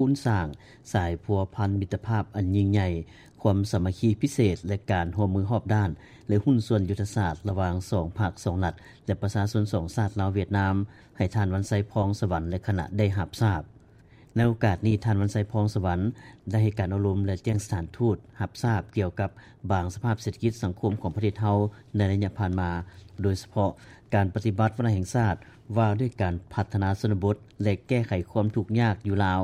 ຄູນສ້າງສາຍພົວພັນມິດຕະພາບອັນຍິ່ງໃຫຍ່, ຄວາມສາມັກຄີພິເສດ ແລະ ການຮ່ວມມືຮອບດ້ານ ແລະ ຫຸ້ນສ່ວນຍຸດທະສາດລະຫວ່າງສອງພັກ, ສອງລັດ ແລະ ປະຊາຊົນສອງຊາດ ລາວ-ຫວຽດນາມ ໃຫ້ທ່ານ ວັນໄຊ ພອງສະຫວັນ ແລະ ຄະນະໄດ້ຮັບຊາບ. ໃນໂອກາດນີ້, ທ່ານ ວັນໄຊ ພອງສະຫວັນ ໄດ້ໃຫ້ການອົບຮົມ ແລະ ແຈ້ງສະຖານທູດຮັບຊາບກ່ຽວກັບບາງສະພາບເສດຖະກິດສັງຄົມຂອງປະເທດເຮົາໃນໄລຍະຜ່ານມາ, ໂດຍສະເພາະການປະຕິບັດວາລະແຫ່ງຊາດວ່າດ້ວຍການພັດທະນາຊົນນະບົດ ແລະ ແກ້ໄຂຄວາມທຸກຍາກຢູ່ລາວ,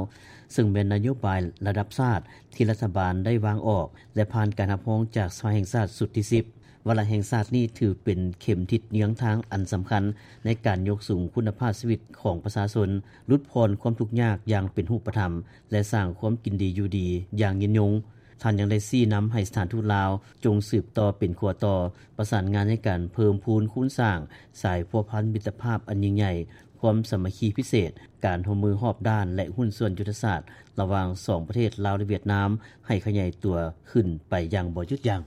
ເຊິ່ງແມ່ນນະໂຍບາຍລະດັບຊາດທີ່ລັດຖະບານໄດ້ວາງອອກ ແລະ ຜ່ານການຮັບຮອງຈາກສະພາແຫ່ງຊາດຊຸດທີສິບ. ວາລະແຫ່ງຊາດນີ້ຖືເປັນເຂັມທິດເຍືອງທາງອັນສຳຄັນໃນການຍົກສູງຄຸນນະພາບຊີວິດຂອງປະຊາຊົນ, ຫຼຸດຜ່ອນຄວາມທຸກຍາກຢ່າງເປັນຮູບປະທຳ ແລະ ສ້າງຄວາມກິນດີຢູ່ດີຢ່າງຍືນຍົງ. ທ່ານຍັງໄດ້ຊີ້ນຳໃຫ້ສະຖານທູດລາວຈົ່ງສືບຕໍ່ເປັນຂົວຕໍ່, ປະສານງານໃນການເພີ່ມພູນຄູນສ້າງສາຍພົວພັນມິດຕະພາບອັນຍິ່ງໃຫຍ່, ຄວາມສາມັກຄີພິເສດ, ການຮ່ວມມືຮອບດ້ານ ແລະ ຫຸ້ນສ່ວນຍຸດທະສາດລະຫວ່າງສອງປະເທດລາວ ແລະ ຫວຽດນາມ ໃຫ້ຂະຫຍາຍຕົວຂຶ້ນໄປຢ່າງບໍ່ຢຸດຢັ້ງ.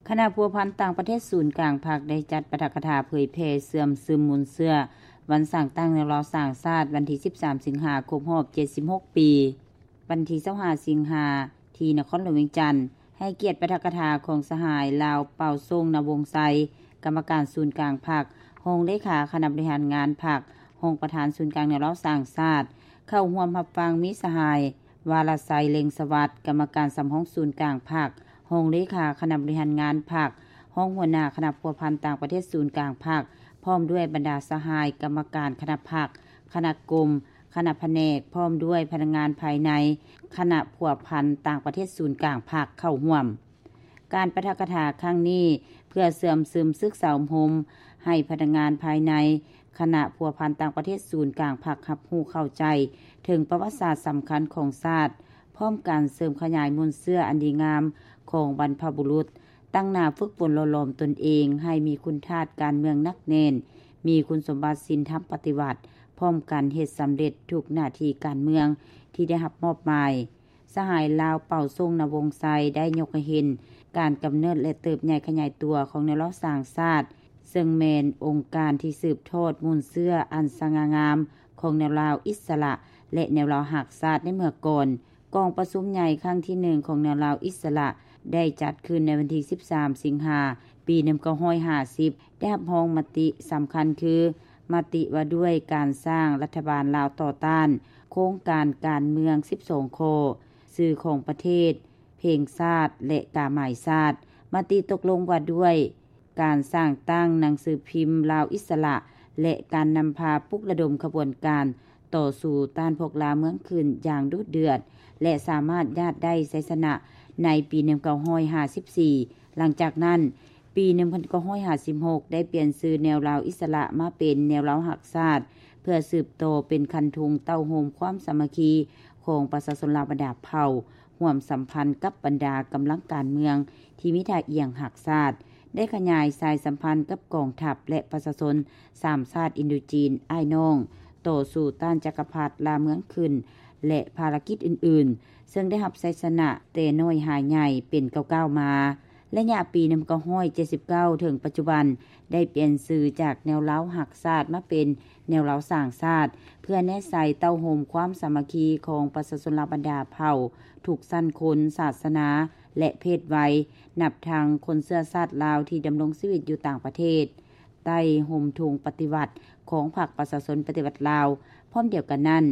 ຄະນະພົວພັນຕ່າງປະເທດສູນກາງພັກ ໄດ້ຈັດປາຖະກະຖາເຜີຍແຜ່ເຊື່ອມຊຶມມູນເຊື້ອວັນສ້າງຕັ້ງແນວລາວສ້າງຊາດ ວັນທີສິບສາມ ສິງຫາ ຄົບຮອບເຈັດສິບຫົກປີ, ວັນທີຊາວຫ້າ ສິງຫາ ທີ່ນະຄອນຫຼວງວຽງຈັນ ໃຫ້ກຽດປາຖະກະຖາຂອງສະຫາຍ ລາວ ເປົ່າ ສົງ ນະວົງໄຊ, ກຳມະການສູນກາງພັກ, ຮອງເລຂາຄະນະບໍລິຫານງານພັກ, ຮອງປະທານສູນກາງແນວລາວສ້າງຊາດ, ເຂົ້າຮ່ວມຮັບຟັງມີສະຫາຍ ວາລະໄຊ ເລັງສະຫວັດ, ກຳມະການສຳຮອງສູນກາງພັກ, ຮອງເລຂາຄະນະບໍລິຫານງານພັກ, ຮອງຫົວໜ້າຄະນະພົວພັນຕ່າງປະເທດສູນກາງພັກ, ພ້ອມດ້ວຍບັນດາສະຫາຍກຳມະການຄະນະພັກ, ຄະນະກົມ, ຄະນະພະແນກ, ພ້ອມດ້ວຍພະນັກງານພາຍໃນຄະນະພົວພັນຕ່າງປະເທດສູນກາງພັກເຂົ້າຮ່ວມ. ການປາຖະກະຖາຄັ້ງນີ້ ເພື່ອເຊື່ອມຊຶມສຶກສາອົບຮົມໃຫ້ພະນັກງານພາຍໃນຄະນະພົວພັນຕ່າງປະເທດສູນກາງພັກຮັບຮູ້ເຂົ້າໃຈເຖິງປະຫວັດສາດສຳຄັນຂອງຊາດ, ພ້ອມກັນເສີມຂະຫຍາຍມູນເຊື້ອອັນດີງາມຂອງບັນພະບຸລຸດ, ຕັ້ງໜ້າຝຶກຝົນຫຼໍ່ຫຼອມຕົນເອງໃຫ້ມີຄຸນທາດການເມືອງໜັກແໜ້ນ, ມີຄຸນສົມບັດສິນທຳປະຕິວັດ, ພ້ອມກັນເຮັດສຳເລັດທຸກໜ້າທີ່ການເມືອງທີ່ໄດ້ຮັບມອບໝາຍ. ສະຫາຍລາວ ເປົ່າ ສົງ ນະວົງໄຊ ໄດ້ຍົກໃຫ້ເຫັນການກຳເນີດ ແລະ ເຕີບໃຫຍ່ຂະຫຍາຍຕົວຂອງແນວລາວສ້າງຊາດ, ເຊິ່ງແມ່ນອົງການທີ່ສືບທອດມູນເຊື້ອອັນສະຫງ່າງາມຂອງແນວລາວອິດສະຫຼະ ແລະ ແນວລາວຮັກຊາດໃນເມື່ອກ່ອນ. ກອງປະຊຸມໃຫຍ່ຄັ້ງທີໜຶ່ງຂອງແນວລາວອິດສະຫຼະ ໄດ້ຈັດຂຶ້ນໃນວັນທີສິບສາມ ສິງຫາ ປີໜຶ່ງພັນເກົ້າຮ້ອຍຫ້າສິບ ໄດ້ຮັບຮອງມະຕິສຳຄັນຄື ມະຕິວ່າດ້ວຍການສ້າງລັດຖະບານລາວຕໍ່ຕ້ານໂຄງການການເມືອງສິບສອງຂໍ້, ຊື່ຂອງປະເທດ, ເພງຊາດ ແລະ ກາໝາຍຊາດ, ມະຕິຕົກລົງວ່າດ້ວຍການສ້າງຕັ້ງໜັງສືພິມລາວອິດສະຫຼະ ແລະ ການນຳພາປຸກລະດົມຂະບວນການຕໍ່ສູ້ຕ້ານພວກລ່າເມືອງຂຶ້ນຢ່າງດຸເດືອດ ແລະ ສາມາດຍາດໄດ້ໄຊຊະນະໃນປີໜຶ່ງພັນເກົ້າຮ້ອຍຫ້າສິບສີ່. ຫຼັງຈາກນັ້ນ, ປີໜຶ່ງພັນເກົ້າຮ້ອຍຫ້າສິບຫົກ ໄດ້ປ່ຽນຊື່ແນວລາວອິດສະຫຼະມາເປັນແນວລາວຮັກຊາດ, ເພື່ອສືບຕໍ່ເປັນຄັນທຸງເຕົ້າໂຮມຄວາມສາມັກຄີຂອງປະຊາຊົນລາວບັນດາເຜົ່າ, ຮ່ວມສຳພັນກັບບັນດາກຳລັງການເມືອງທີ່ມີທ່າອ່ຽງຮັກຊາດ, ໄດ້ຂະຫຍາຍສາຍສຳພັນກັບກອງທັບ ແລະ ປະຊາຊົນສາມຊາດອິນໂດຈີນອ້າຍນ້ອງ, ຕໍ່ສູ້ຕ້ານຈັກກະພັດລ່າເມືອງຂຶ້ນ ແລະ ພາລະກິດອື່ນໆ, ເຊິ່ງໄດ້ຮັບໄຊຊະນະແຕ່ນ້ອຍຫາໃຫຍ່ເປັນກ້າວໆມາ. ໄລຍະປີໜຶ່ງພັນເກົ້າຮ້ອຍເຈັດສິບເກົ້າ ເຖິງປັດຈຸບັນ ໄດ້ປ່ຽນຊື່ຈາກແນວລາວຮັກຊາດມາເປັນແນວລາວສ້າງຊາດ, ເພື່ອແນໃສ່ເຕົ້າໂຮມຄວາມສາມັກຄີຂອງປະຊາຊົນລາວບັນດາເຜົ່າ, ທຸກຊັ້ນຄົນ, ສາສະໜາ ແລະ ເພດໄວ, ນັບທັງຄົນເຊື້ອຊາດລາວທີ່ດຳລົງຊີວິດຢູ່ຕ່າງປະເທດ ໃຕ້ຮົ່ມທຸງປະຕິວັດຂອງພັກປະຊາຊົນປະຕິວັດລາວ. ພ້ອມດຽວກັນນັ້ນ,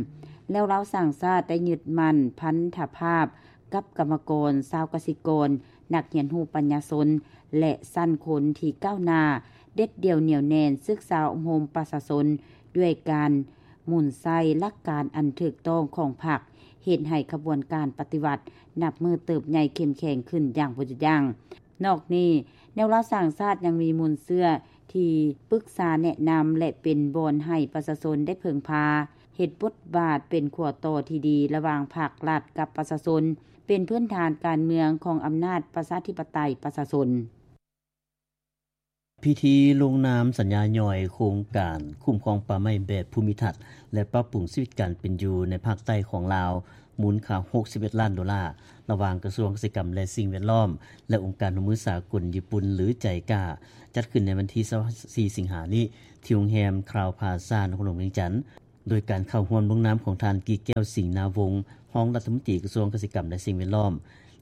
ແນວລາວສ້າງຊາດໄດ້ຍຶດໝັ້ນພັນທະພາບກັບກຳມະກອນ, ຊາວກະສິກອນ, ນັກຮຽນຮູ້ປັນຍາຊົນ ແລະ ຊັ້ນຄົນທີ່ກ້າວໜ້າ, ເດັດດ່ຽວໜຽວແໜ້ນ, ສຶກສາອົບຮົມປະຊາຊົນດ້ວຍການໝູນໃຊ້ຫຼັກການອັນຖືກຕ້ອງຂອງພັກ, ເຮັດໃຫ້ຂະບວນການປະຕິວັດນັບມື້ເຕີບໃຫຍ່ເຂັ້ມແຂງຂຶ້ນຢ່າງບໍ່ຢຸດຢັ້ງ. ນອກນີ້, ແນວລາວສ້າງຊາດຍັງມີມູນເຊື້ອທີ່ປຶກສາແນະນຳ ແລະ ເປັນບ່ອນໃຫ້ປະຊາຊົນໄດ້ເພິ່ງພາ, ເຮັດບົດບາດເປັນຂົວຕໍ່ທີ່ດີລະຫວ່າງພັກລັດກັບປະຊາຊົນ, ເປັນພື້ນຖານການເມືອງຂອງອຳນາດປະຊາທິປະໄຕປະຊາຊົນ. ພິທີລົງນາມສັນຍາຍ່ອຍໂຄງການຄຸ້ມຄອງປ່າໄມ້ແບບພູມິທັດ ແລະ ປັບປຸງຊີວິດການເປັນຢູ່ໃນພາກໃຕ້ຂອງລາວ ມູນຄ່າຫົກສິບເອັດລ້ານໂດລາ ລະຫວ່າງກະຊວງກະສິກຳ ແລະ ສິ່ງແວດລ້ອມ ແລະ ອົງການຮ່ວມມືສາກົນຍີ່ປຸ່ນ ຫຼື ໄຈກາ ຈັດຂຶ້ນໃນວັນທີຊາວສີ່ ສິງຫານີ້ ທີ່ໂຮງແຮມຄຣາວພລາຊາ ນະຄອນຫຼວງວຽງຈັນ. ໂດຍການເຂົ້າຮ່ວມລົງນາມຂອງທ່ານ ກີແກ້ວ ສິງນາວົງ ຮອງລັດຖະມົນຕີກະຊວງກະສິກຳ ແລະ ສິ່ງແວດລ້ອມ,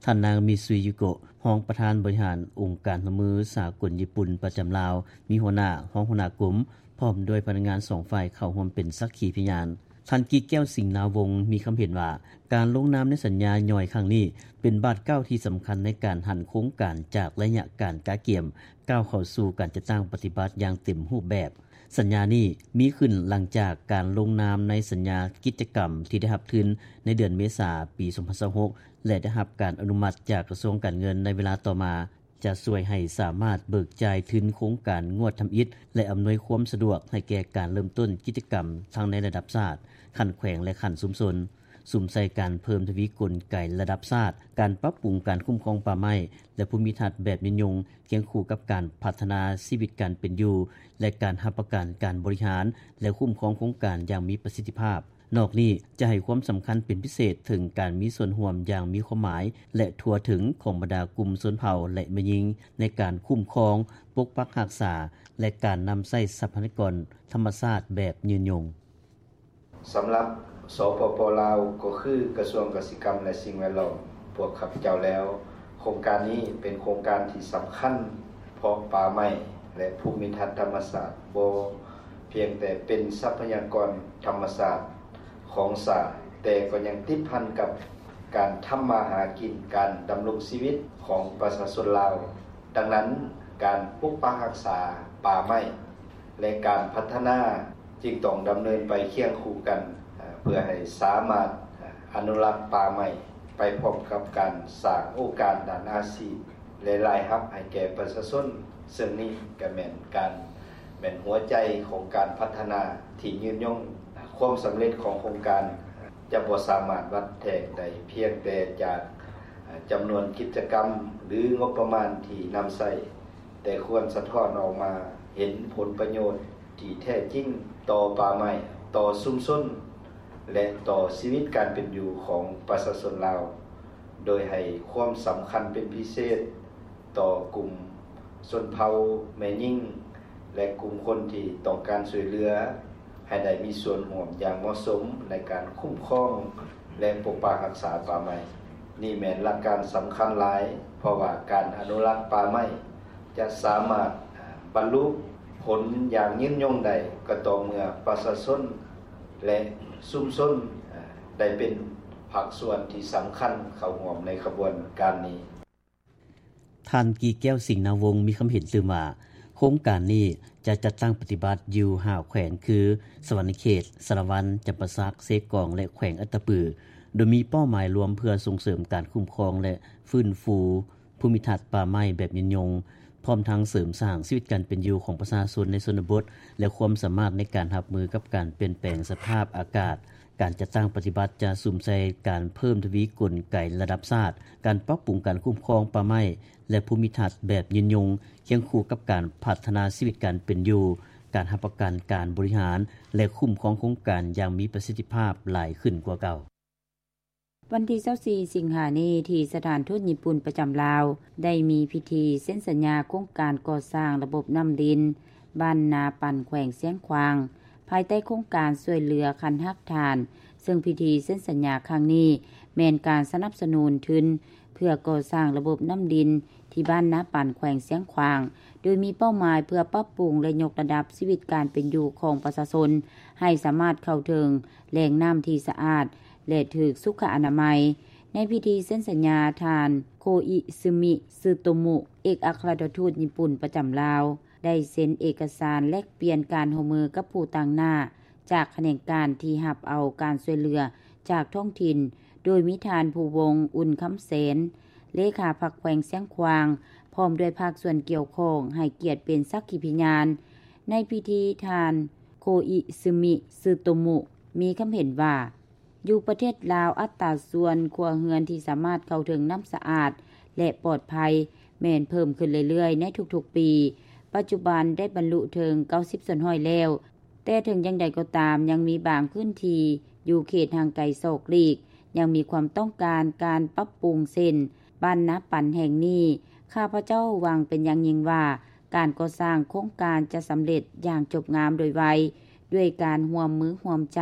ທ່ານນາງ ມິຊູຍຢູໂກະ ຮອງປະທານບໍລິຫານອົງການຮ່ວມມືສາກົນຍີ່ປຸ່ນປະຈຳລາວ, ມີຫົວໜ້າ, ຮອງຫົວໜ້າກົມ ພ້ອມດ້ວຍພະນັກງານສອງຝ່າຍເຂົ້າຮ່ວມເປັນສັກຂີພະຍານ. ທ່ານ ກີແກ້ວ ສິງນາວົງ ມີຄຳເຫັນວ່າ ການລົງນາມໃນສັນຍາຍ່ອຍຄັ້ງນີ້ ເປັນບາດກ້າວທີ່ສຳຄັນໃນການຫັນໂຄງການຈາກໄລຍະການກະກຽມ ກ້າວເຂົ້າສູ່ການຈັດຕັ້ງປະຕິບັດຢ່າງເຕັມຮູບແບບ. ສັນຍານີ້ມີຂຶ້ນຫຼັງຈາກການລົງນາມໃນສັນຍາກິດຈະກຳທີ່ໄດ້ຮັບທຶນໃນເດືອນເມສາປີສອງພັນຊາວຫົກ ແລະ ໄດ້ຮັບການອະນຸມັດຈາກກະຊວງການເງິນໃນເວລາຕໍ່ມາ ຈະຊ່ວຍໃຫ້ສາມາດເບີກຈ່າຍທຶນໂຄງການງວດທຳອິດ ແລະ ອຳນວຍຄວາມສະດວກໃຫ້ແກ່ການເລີ່ມຕົ້ນກິດຈະກຳທັງໃນລະດັບຊາດ, ຂັ້ນແຂວງ ແລະ ຂັ້ນຊຸມຊົນ. ສຸມໃສ່ການເພີ່ມທະວີກົນໄກລະດັບຊາດ, ການປັບປຸງການຄຸ້ມຄອງປ່າໄມ້ ແລະ ພູມິທັດແບບຍືນຍົງ ຄຽງຄູ່ກັບການພັດທະນາຊີວິດການເປັນຢູ່ ແລະ ການຮັບປະກັນການບໍລິຫານ ແລະ ຄຸ້ມຄອງໂຄງການຢ່າງມີປະສິດທິພາບ. ນອກນີ້ຈະໃຫ້ຄວາມສຳຄັນເປັນພິເສດເຖິງການມີສ່ວນຮ່ວມຢ່າງມີຄວາມໝາຍ ແລະ ທົ່ວເຖິງຂອງບັນດາກຸ່ມຊົນເຜົ່າ ແລະ ແມ່ຍິງ ໃນການຄຸ້ມຄອງ, ປົກປັກຮັກສາ ແລະ ການນຳໃຊ້ຊັບພະຍາກອນທຳມະຊາດແບບຍືນຍົງ. ສຳລັບ ສປປ ລາວ ກໍຄືກະຊວງກະສິກຳ ແລະ ສິ່ງແວດລ້ອມ ພວກຂ້າພະເຈົ້າແລ້ວ, ໂຄງການນີ້ເປັນໂຄງການທີ່ສຳຄັນ ເພາະປ່າໄມ້ ແລະ ພູມິທັດທຳມະຊາດບໍ່ພຽງແຕ່ເປັນຊັບພະຍາກອນທຳມະຊາດຂອງຊາດ, ແຕ່ກໍຍັງຕິດພັນກັບການທຳມາຫາກິນ, ການດຳລົງຊີວິດຂອງປະຊາຊົນລາວ. ດັ່ງນັ້ນ, ການປົກປັກຮັກສາປ່າໄມ້ ແລະ ການພັດທະນາຈຶ່ງຕ້ອງດຳເນີນໄປຄຽງຄູ່ກັນ ເພື່ອໃຫ້ສາມາດອະນຸລັກປ່າໄມ້ ໄປພ້ອມກັບການສ້າງໂອກາດດ້ານອາຊີບ ແລະ ລາຍຮັບໃຫ້ແກ່ປະຊາຊົນ, ເຊິ່ງນີ້ກໍແມ່ນການ ແມ່ນຫົວໃຈຂອງການພັດທະນາທີ່ຍືນຍົງ. ຄວາມສຳເລັດຂອງໂຄງການຈະບໍ່ສາມາດວັດແທກໄດ້ພຽງແຕ່ຈາກຈຳນວນກິດຈະກຳ ຫຼື ງົບປະມານທີ່ນຳໃຊ້, ແຕ່ຄວນສະທ້ອນອອກມາເຫັນຜົນປະໂຫຍດທີ່ແທ້ຈິງຕໍ່ປ່າໄມ້, ຕໍ່ຊຸມຊົນ ແລະ ຕໍ່ຊີວິດການເປັນຢູ່ຂອງປະຊາຊົນລາວ, ໂດຍໃຫ້ຄວາມສຳຄັນເປັນພິເສດຕໍ່ກຸ່ມຊົນເຜົ່າແມ່ຍິງ ແລະ ກຸ່ມຄົນທີ່ຕ້ອງການຊ່ວຍເຫຼືອ ໃຫ້ໄດ້ມີສ່ວນຮ່ວມຢ່າງເໝາະສົມໃນການຄຸ້ມຄອງ ແລະ ປົກປັກຮັກສາປ່າໄມ້. ນີ້ແມ່ນຫຼັກການສຳຄັນຫຼາຍ, ເພາະວ່າການອະນຸລັກປ່າໄມ້ຈະສາມາດບັນລຸຜົນຢ່າງຍືນຍົງໄດ້ ກໍຕໍ່ເມື່ອປະຊາຊົນ ແລະ ຊຸມຊົນໄດ້ເປັນພາກສ່ວນທີ່ສຳຄັນເຂົ້າຮ່ວມໃນຂະບວນການນີ້. ທ່ານ ກີແກ້ວ ສິງນາວົງ ມີຄຳເຫັນຕື່ມວ່າ ໂຄງການນີ້ຈະຈັດຕັ້ງປະຕິບັດຢູ່ຫ້າແຂວງ ຄື ສະຫວັນນະເຂດ, ສາລະວັນ, ຈຳປາສັກ, ເຊກອງ ແລະ ແຂວງອັດຕະປື, ໂດຍມີເປົ້າໝາຍລວມເພື່ອສົ່ງເສີມການຄຸ້ມຄອງ ແລະ ຟື້ນຟູພູມິທັດປ່າໄມ້ແບບຍືນຍົງ, ພ້ອມທັງເສີມສ້າງຊີວິດການເປັນຢູ່ຂອງປະຊາຊົນໃນຊົນນະບົດ ແລະ ຄວາມສາມາດໃນການຮັບມືກັບການປ່ຽນແປງສະພາບອາກາດ. ການຈັດຕັ້ງປະຕິບັດຈະສຸມໃສ່ການເພີ່ມທະວີກົນໄກລະດັບຊາດ, ການປັບປຸງການຄຸ້ມຄອງປ່າໄມ້ ແລະ ພູມິທັດແບບຍືນຍົງ, ຄຽງຄູ່ກັບການພັດທະນາຊີວິດການເປັນຢູ່, ການຮັບປະກັນການບໍລິຫານ ແລະ ຄຸ້ມຄອງໂຄງການຢ່າງມີປະສິດທິພາບຫຼາຍຂຶ້ນກວ່າເກົ່າ. ວັນທີຊາວສີ່ ສິງຫານີ້ ທີ່ສະຖານທູດຍີ່ປຸ່ນປະຈຳລາວ ໄດ້ມີພິທີເຊັນສັນຍາໂຄງການກໍ່ສ້າງລະບົບນ້ຳລິນ ບ້ານນາປັນ ແຂວງຊຽງຂວາງ ພາຍໃຕ້ໂຄງການຊ່ວຍເຫຼືອຂັ້ນຮາກຖານ, ເຊິ່ງພິທີເຊັນສັນຍາຄັ້ງນີ້ ແມ່ນການສະໜັບສະໜູນທຶນ ເພື່ອກໍ່ສ້າງລະບົບນ້ຳລິນ ທີ່ບ້ານນາປັນ ແຂວງຊຽງຂວາງ, ໂດຍມີເປົ້າໝາຍເພື່ອປັບປຸງ ແລະ ຍົກລະດັບຊີວິດການເປັນຢູ່ຂອງປະຊາຊົນ ໃຫ້ສາມາດເຂົ້າເຖິງແຫຼ່ງນ້ຳທີ່ສະອາດ ແລະ ຖືກສຸຂະອະນາໄມ. ໃນພິທີເຊັນສັນຍາ, ທ່ານ ໂຄອິຊຶມິ ຊຶໂຕມຸ ເອກອັກຄະລັດຖະທູດຍີ່ປຸ່ນປະຈຳລາວ ໄດ້ເຊັນເອກະສານແລກປ່ຽນການຮ່ວມມືກັບຜູ້ຕາງໜ້າຈາກຂະແໜງການທີ່ຮັບເອົາການຊ່ວຍເຫຼືອຈາກທ້ອງຖິ່ນ, ໂດຍມີທ່ານ ພູວົງ ອຸ່ນຄຳແສນ ເລຂາພັກແຂວງຊຽງຂວາງ ພ້ອມດ້ວຍພາກສ່ວນກ່ຽວຂ້ອງໃຫ້ກຽດເປັນສັກຂີພະຍານ. ໃນພິທີ, ທ່ານ ໂຄອິຊຶມິ ຊຶໂຕມຸ ມີຄຳເຫັນວ່າ, ຢູ່ປະເທດລາວ, ອັດຕາສ່ວນຄົວເຮືອນທີ່ສາມາດເຂົ້າເຖິງນ້ຳສະອາດ ແລະ ປອດໄພ ແມ່ນເພີ່ມຂຶ້ນເລື້ອຍໆໃນທຸກໆປີ. ປັດຈຸບັນໄດ້ບັນລຸເຖິງເກົ້າສິບສ່ວນຮ້ອຍແລ້ວ, ແຕ່ເຖິງຢ່າງໃດກໍຕາມ, ຍັງມີບາງພື້ນທີ່ຢູ່ເຂດຫ່າງໄກສອກຫຼີກ ຍັງມີຄວາມຕ້ອງການການປັບປຸງ, ເຊັ່ນ ບ້ານນາປັນແຫ່ງນີ້. ຂ້າພະເຈົ້າຫວັງເປັນຢ່າງຍິ່ງວ່າ ການກໍ່ສ້າງໂຄງການຈະສຳເລັດຢ່າງຈົບງາມໂດຍໄວ, ດ້ວຍການຮ່ວມມືຮ່ວມໃຈ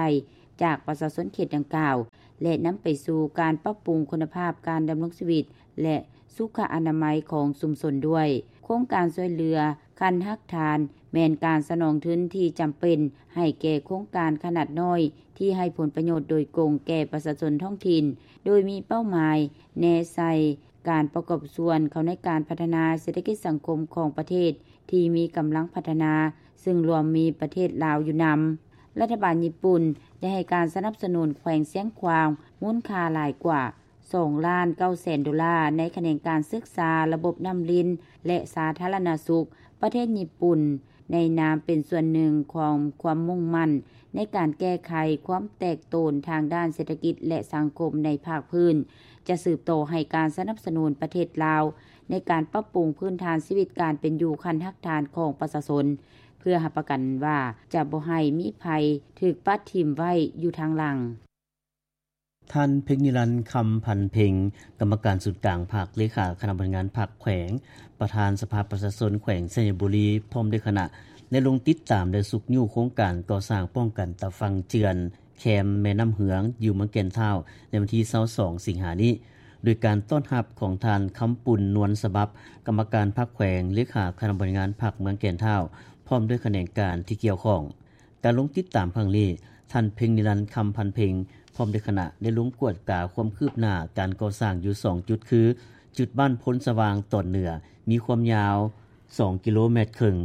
ຈາກປະຊາຊົນເຂດດັ່ງກ່າວ ແລະນຳໄປສູ່ການປັບປຸງຄຸນນະພາບການດຳລົງຊີວິດ ແລະສຸຂະອະນາໄມຂອງຊຸມຊົນດ້ວຍ. ໂຄງການຊ່ວຍເຫຼືອຂັ້ນຮາກຖານ ແມ່ນການສະໜອງທຶນທີ່ຈຳເປັນໃຫ້ແກ່ໂຄງການຂະໜາດນ້ອຍ ທີ່ໃຫ້ຜົນປະໂຫຍດໂດຍກົງແກ່ປະຊາຊົນທ້ອງຖິ່ນ ໂດຍມີເປົ້າໝາຍແນໃສ່ການປະກອບສ່ວນເຂົ້າໃນການພັດທະນາເສດຖະກິດສັງຄົມຂອງປະເທດທີ່ມີກຳລັງພັດທະນາ ຊຶ່ງລວມມີປະເທດລາວຢູ່ນຳ. ລັດຖະບານຍີ່ປຸ່ນໄດ້ໃຫ້ການສະໜັບສະໜູນແຂວງຊຽງຂວາງມູນຄ່າຫຼາຍກວ່າ ສອງລ້ານເກົ້າແສນໂດລາ ໃນຂະແໜງການສຶກສາລະບົບນ້ຳລິນ ແລະສາທາລະນະສຸກ. ປະເທດຍີ່ປຸ່ນໃນນາມເປັນສ່ວນໜຶ່ງຂອງຄວາມມຸ່ງໝັ້ນໃນການແກ້ໄຂຄວາມແຕກໂຕນທາງດ້ານເສດຖະກິດ ແລະສັງຄົມໃນພາກພື້ນ ຈະສືບຕໍ່ໃຫ້ການສະໜັບສະໜູນປະເທດລາວ ໃນການປັບປຸງພື້ນຖານຊີວິດການເປັນຢູ່ຂັ້ນຮາກຖານຂອງປະຊາຊົນ ເພື່ອຮັບປະກັນວ່າຈະບໍ່ໃຫ້ມີໃຜຖືກປະຖິ້ມໄວ້ຢູ່ທາງຫຼັງ. ທ່ານ ເພັງນິລັນ ຄຳພັນເພັງ ກຳມະການສູນກາງພັກ ເລຂາຄະນະບໍລິຫານງານພັກແຂວງ ປະທານສະພາປະຊາຊົນແຂວງໄຊຍະບູລີ ພ້ອມດ້ວຍຄະນະ ໄດ້ລົງຕິດຕາມ ແລະຊຸກຍູ້ໂຄງການກໍ່ສ້າງປ້ອງກັນຕາຝັ່ງເຈື່ອນແຄມແມ່ນ້ຳເຮືອງ ຢູ່ເມືອງແກ່ນທ້າວ ໃນວັນທີຊາວສອງ ສິງຫານີ້ ໂດຍການຕ້ອນຮັບຂອງທ່ານ ຄຳປຸນ ນວນສະບັບ ກຳມະການພັກແຂວງ ເລຂາຄະນະບໍລິຫານງານພັກເມືອງແກ່ນທ້າວ ພ້ອມດ້ວຍຂະແໜງການທີ່ກ່ຽວຂ້ອງ. ການລົງຕິດຕາມຄັ້ງນີ້ ທ່ານ ເພັງນິລັນ ຄຳພັນເພັງ ພ້ອມດ້ວຍຄະນະ ໄດ້ລົງກວດກາຄວາມຄືບໜ້າການກໍ່ສ້າງຢູ່ສອງຈຸດ ຄື ຈຸດບ້ານໂພນສະຫວ່າງຕອນເໜືອ ມີຄວາມຍາວສອງກິໂລແມັດເຄິ່ງ,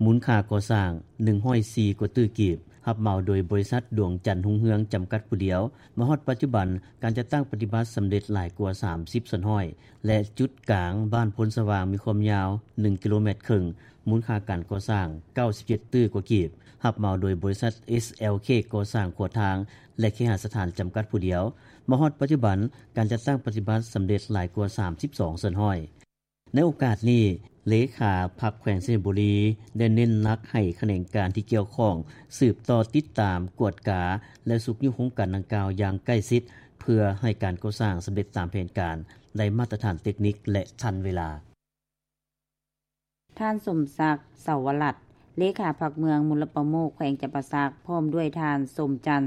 ມູນຄ່າກໍ່ສ້າງໜຶ່ງຮ້ອຍສີ່ກວ່າຕື້ກີບ, ຮັບເໝົາໂດຍບໍລິສັດດວງຈັນຮຸ່ງເຮືອງຈຳກັດຜູ້ດຽວ. ມາຮອດປັດຈຸບັນ, ການຈັດຕັ້ງປະຕິບັດສຳເລັດຫຼາຍກວ່າສາມສິບສ່ວນຮ້ອຍ ແລະ ຈຸດກາງບ້ານໂພນສະຫວ່າງ ມີຄວາມຍາວໜຶ່ງກິໂລແມັດເຄິ່ງ, ມູນຄ່າການກໍ່ສ້າງເກົ້າສິບເຈັດຕື້ກວ່າກີບ, ຮັບເໝົາໂດຍບໍລິສັດ ເອສແອລເຄ ກໍ່ສ້າງຂົວທາງ ແລະ ເຄຫະສະຖານຈຳກັດຜູ້ດຽວ. ມາຮອດປັດຈຸບັນ, ການຈັດຕັ້ງປະຕິບັດສຳເລັດຫຼາຍກວ່າສາມສິບສອງສ່ວນຮ້ອຍ. ໃນໂອກາດນີ້, ເລຂາພັກແຂວງໄຊຍະບູລີ ໄດ້ເນັ້ນໜັກໃຫ້ຂະແໜງການທີ່ກ່ຽວຂ້ອງ ສືບຕໍ່ຕິດຕາມ, ກວດກາ ແລະ ຊຸກຍູ້ໂຄງການດັ່ງກ່າວຢ່າງໃກ້ຊິດ ເພື່ອໃຫ້ການກໍ່ສ້າງສຳເລັດຕາມແຜນການ, ໄດ້ມາດຕະຖານເຕັກນິກ ແລະ ທັນເວລາ. ທ່ານ ສົມສັກ ເສົາວະລັດ ເລຂາພັກເມືອງ, ມຸລປະໂມກແຂວງຈຳປາສັກ, ພ້ອມດ້ວຍທ່ານ ສົມຈັນ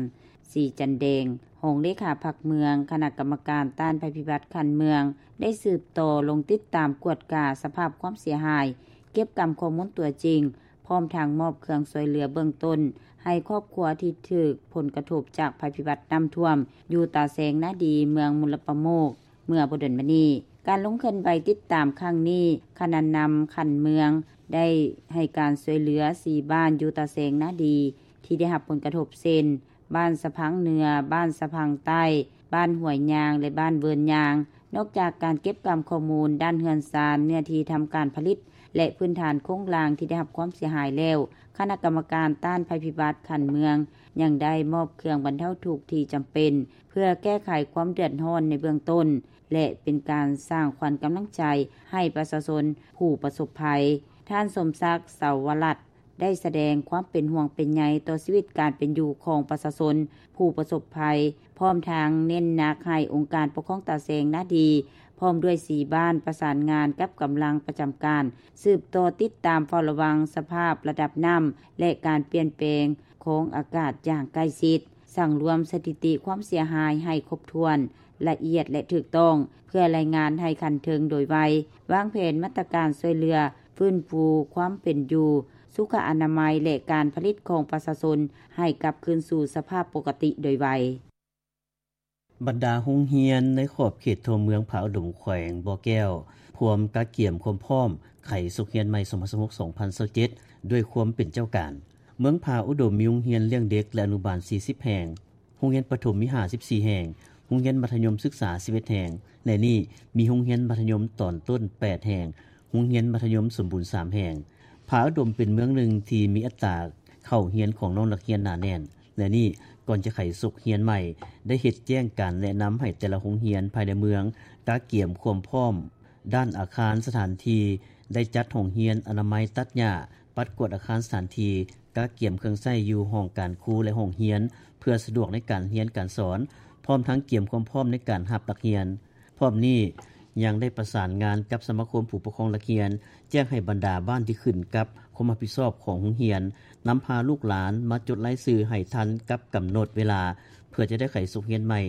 ສີຈັນແດງ ຮອງເລຂາພັກເມືອງ, ຄະນະກຳມະການຕ້ານໄພພິບັດຂັ້ນເມືອງ ໄດ້ສືບຕໍ່ລົງຕິດຕາມກວດກາສະພາບຄວາມເສຍຫາຍ, ເກັບກຳຂໍ້ມູນຕົວຈິງ, ພ້ອມທັງມອບເຄື່ອງຊ່ວຍເຫຼືອເບື້ອງຕົ້ນໃຫ້ຄອບຄົວທີ່ຖືກຜົນກະທົບຈາກໄພພິບັດນ້ຳຖ້ວມ ຢູ່ຕາແຊງນາດີ, ເມືອງມຸລປະໂມກ. ເມື່ອບໍ່ດົນມານີ້, ການລົງເຄື່ອນໄຫວຕິດຕາມຄັ້ງນີ້, ຄະນະນຳຂັ້ນເມືອງໄດ້ໃຫ້ການຊ່ວຍເຫຼືອສີ່ບ້ານຢູ່ຕາແຊງນາດີ ທີ່ໄດ້ຮັບຜົນກະທົບ ເຊັ່ນ ບ້ານສະພັງເໜືອ, ບ້ານສະພັງໃຕ້, ບ້ານຫ້ວຍຍາງ ແລະ ບ້ານເວີນຍາງ. ນອກຈາກການເກັບກຳຂໍ້ມູນດ້ານເຮືອນຊານ, ເນື້ອທີ່ທຳການຜະລິດ ແລະ ພື້ນຖານໂຄງລ່າງທີ່ໄດ້ຮັບຄວາມເສຍຫາຍແລ້ວ, ຄະນະກຳມະການຕ້ານໄພພິບັດຂັ້ນເມືອງ ຍັງໄດ້ມອບເຄື່ອງບັນເທົາທຸກທີ່ຈຳເປັນ ເພື່ອແກ້ໄຂຄວາມເດືອດຮ້ອນໃນເບື້ອງຕົ້ນ ແລະ ເປັນການສ້າງຂວັນກຳລັງໃຈໃຫ້ປະຊາຊົນຜູ້ປະສົບໄພ. ທ່ານ ສົມສັກ ເສົາວະລັດ ໄດ້ສະແດງຄວາມເປັນຫ່ວງເປັນໃຍຕໍ່ຊີວິດການເປັນຢູ່ຂອງປະຊາຊົນຜູ້ປະສົບໄພ, ພ້ອມທັງເນັ້ນໜັກໃຫ້ອົງການປົກຄອງຕາແຊງນາດີ ພ້ອມດ້ວຍສີ່ບ້ານ ປະສານງານກັບກຳລັງປະຈຳການ ສືບຕໍ່ຕິດຕາມເຝົ້າລະວັງສະພາບລະດັບນ້ຳ ແລະ ການປ່ຽນແປງຂອງອາກາດຢ່າງໃກ້ຊິດ, ສັງລວມສະຖິຕິຄວາມເສຍຫາຍໃຫ້ຄົບຖ້ວນ, ລະອຽດ ແລະ ຖືກຕ້ອງ ເພື່ອລາຍງານໃຫ້ຂັ້ນເທິງໂດຍໄວ, ວາງແຜນມາດຕະການຊ່ວຍເຫຼືອ, ຟື້ນຟູຄວາມເປັນຢູ່, ສຸຂະອະນາໄມ ແລະ ການຜະລິດຂອງປະຊາຊົນໃຫ້ກັບຄືນສູ່ສະພາບປົກກະຕິໂດຍໄວ. ບັນດາໂຮງຮຽນໃນຂອບເຂດຕົວເມືອງຜາອຸດົມ ແຂວງບໍ່ແກ້ວ ພວມກະກຽມຄວາມພ້ອມໄຂສົກຮຽນໃໝ່ ສອງພັນຊາວຫົກ ສອງພັນຊາວເຈັດ ດ້ວຍຄວາມເປັນເຈົ້າການ. ເມືອງຜາອຸດົມມີໂຮງຮຽນລ້ຽງເດັກ ແລະ ອະນຸບານ ສີ່ສິບແຫ່ງ, ໂຮງຮຽນປະຖົມມີ ຫ້າສິບສີ່ແຫ່ງ, ໂຮງຮຽນມັດທະຍົມສຶກສາ ສິບເອັດແຫ່ງ, ໃນນີ້ມີໂຮງຮຽນມັດທະຍົມຕອນຕົ້ນ ແປດແຫ່ງ, ໂຮງຮຽນມັດທະຍົມສົມບູນ ສາມແຫ່ງ. ຜາອຸດົມເປັນເມືອງໜຶ່ງທີ່ມີອັດຕາເຂົ້າຮຽນຂອງນ້ອງນັກຮຽນໜາແໜ້ນ, ແລະ ນີ້ ກ່ອນຈະໄຂສົກຮຽນໃໝ່ ໄດ້ເຮັດແຈ້ງການແນະນຳໃຫ້ແຕ່ລະໂຮງຮຽນພາຍໃນເມືອງ ກະກຽມຄວາມພ້ອມດ້ານອາຄານສະຖານທີ່, ໄດ້ຈັດຫ້ອງຮຽນ, ອະນາໄມ, ຕັດຫຍ້າ, ປັດກວາດອາຄານສະຖານທີ່, ກະກຽມເຄື່ອງໃຊ້ຢູ່ຫ້ອງການຄູ ແລະ ຫ້ອງຮຽນ ເພື່ອສະດວກໃນການຮຽນການສອນ, ພ້ອມທັງກຽມຄວາມພ້ອມໃນການຮັບນັກຮຽນ. ພ້ອມນີ້ ຍັງໄດ້ປະສານງານກັບສະມາຄົມຜູ້ປົກຄອງນັກຮຽນ ແຈ້ງໃຫ້ບັນດາບ້ານທີ່ຂຶ້ນກັບຄວາມຮັບຜິດຊອບຂອງໂຮງຮຽນ ນຳພາລູກຫຼານມາຈົດລາຍຊື່ໃຫ້ທັນກັບກຳນົດເວລາ ເພື່ອຈະໄດ້ໄຂສົກຮຽນໃໝ່